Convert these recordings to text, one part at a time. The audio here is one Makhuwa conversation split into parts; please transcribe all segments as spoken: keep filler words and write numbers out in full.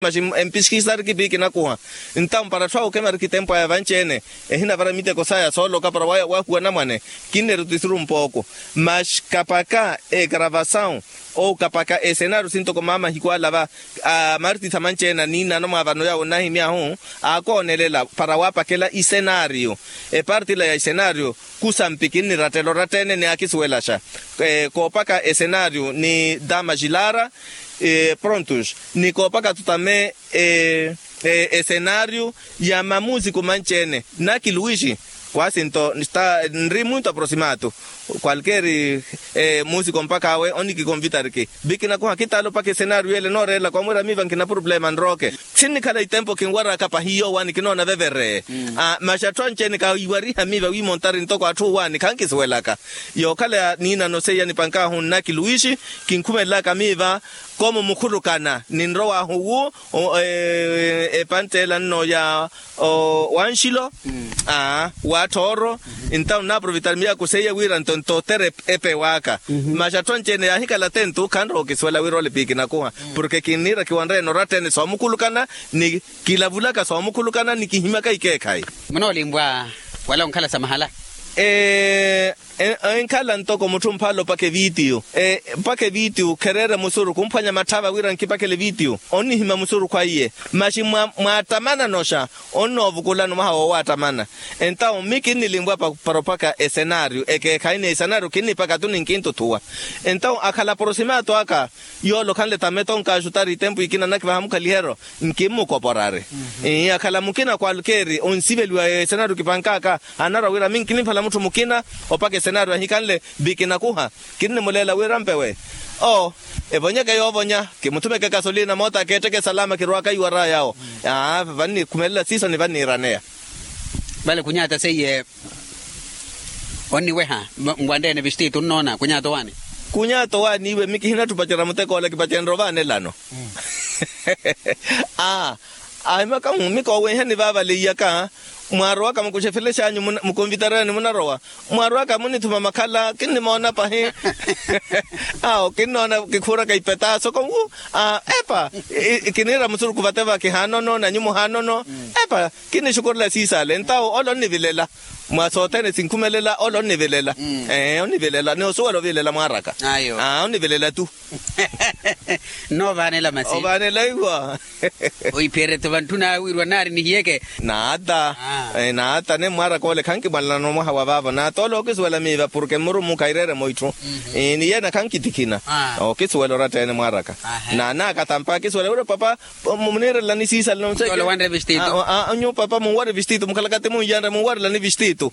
Paxi empiskisariki piikinakuha. Entawu para atthu awo okemyariki tempu aya vanci-ene ehinavara miteko saya sooloka para wahuwa anamwane. Kinneru tisiru mpooko. Maxi kapaka egravasawu ou kapaka esenaario sintoko mama ahikwalava amartitha manci-ene aniinano mwa vano yawo onnahimyahu aakoonelela para waapakela isenaario. Eparti ila ya isenaario kusampi kinnirattela oratta-ene ni aakisuwelaxa. Koopaka esenaario ni dama xilara prontos ni koopaka tutame esenaario ya mamusiku manci-ene. Naki luwixi kwasinto nri muntu aprosimatu kwalkeeri musiku mpakha awe onikikonvitariki. Vikinakuha kitaala opaka esenaario ele nooreelaka omwiira miiva nkina purupulema nrooke. Sinnikhala itempo kinwaraka pahi yoowaani kinoona vevere. Maxi atthu anci-ene kaiwariha miiva wiimontari ntoko atthu owaani khankisuwelaka. Yookhala niinano seiya nipankaahu nnaki luwixi kinkhumelelaka miiva komo mukhulukana ninrowaahu wu epanttela nno ya wanxilo wa ttooro. Entawu nnaaprovitari miyaaku seiya wira nto ntotere epewaka. Maxi atthu anci-ene yaahikhala attentu khanrowa okisuwela wira ole piikinakuha porke kinniira kiwanreene oratta-ene soomukhulukana ni kilavulaka soomukhulukana ni kihimyaka ikeekhayi. Munoolimpwa wala onkhala sa mahala. Enkhala ntoko mutthu mphala opaka evitiyu. Mpaka evitiyu khereere musuru kumphwanya matthava wira nkipakhele evitiyu onnihimya musurukhu aiye. Maxi mwaattamana noxa onnoovukulana omwaha woowaattamana. Entawu mi kinnilimpwa para opaka esenaario ekeekhayi ni esenaario kinnipaka tu ninkintuthuwa. Entawu akhala aprosimatu aka yoole okhanle tameto onkaxutari itempu ikina nakivaha mukhaliheryo nkimmukoporari. Akhala mukina kwalkeeri onsiveliwa esenaario kipankaka anarwa wira minki nimphala mutthu mukina opaka esenaario ahikanle vikinakuha. Kinnimuleela wira mpewe oo evonyeke yoovonya kimuthumeke kasolina moota akeetteke salama kirwaaka iwara yawo. Vannikhumelela siiso ni vanniiraneya. Vale khunyaata seiye onniweha nwanreene vistiti onnoona khunyaata owaani. Khunyaata owaani iwe mi kihinatthi opacerya muteko ole kipacenrya ovaanelano. Aa ahimaka mumika owenhani vaavaleiyaka mwaarowaka mukuxefele xanyu mukonvitarani munarowa mwaarowaka munithuma makhala kinnimoona pahi. Awo kinnoona kikhuuraka ipetaso konwu epa kiniira musuruku vate va kihaanono nanyu muhaanono. Epa kinnixukurela siisale entawo ole onnivilela mwa sothene sinkhumelela ole onnivilela. Ee onnivilela ni osuwela ovilela mwaaraka. Onnivilela tu. Nno ovaanela masi ovaanela iwa. Oipherete vantthuna awiirwa naari nihiyeke. Naata naata nemwaaraka ole khankimwalanana omwaha wa vaavo naata ole ookisuwela miiva porke mmurumukha ireeremo itthu. Ni yeene khankitikhina ookisuwela oratta-ene mwaaraka. Naanaakatampa akisuwela wira papa muniirelelani siisale nonse. Nyuwo papa munwari vistitu mukhalaka ti munyanre munwarelani vistitu.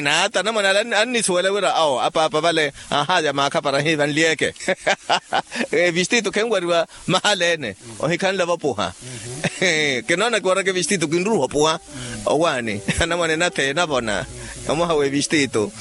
Naata namwane ale annisuwela wira awo apaapa vale. Ahaaya maakha para hiivanlyeke. Vistitu khenwariwa mahala ene ohikhanle vopuha. Kinoona kiwaraka vistitu kinruha opuha. Owaani anamwane natheye navona omwaha we vistitu.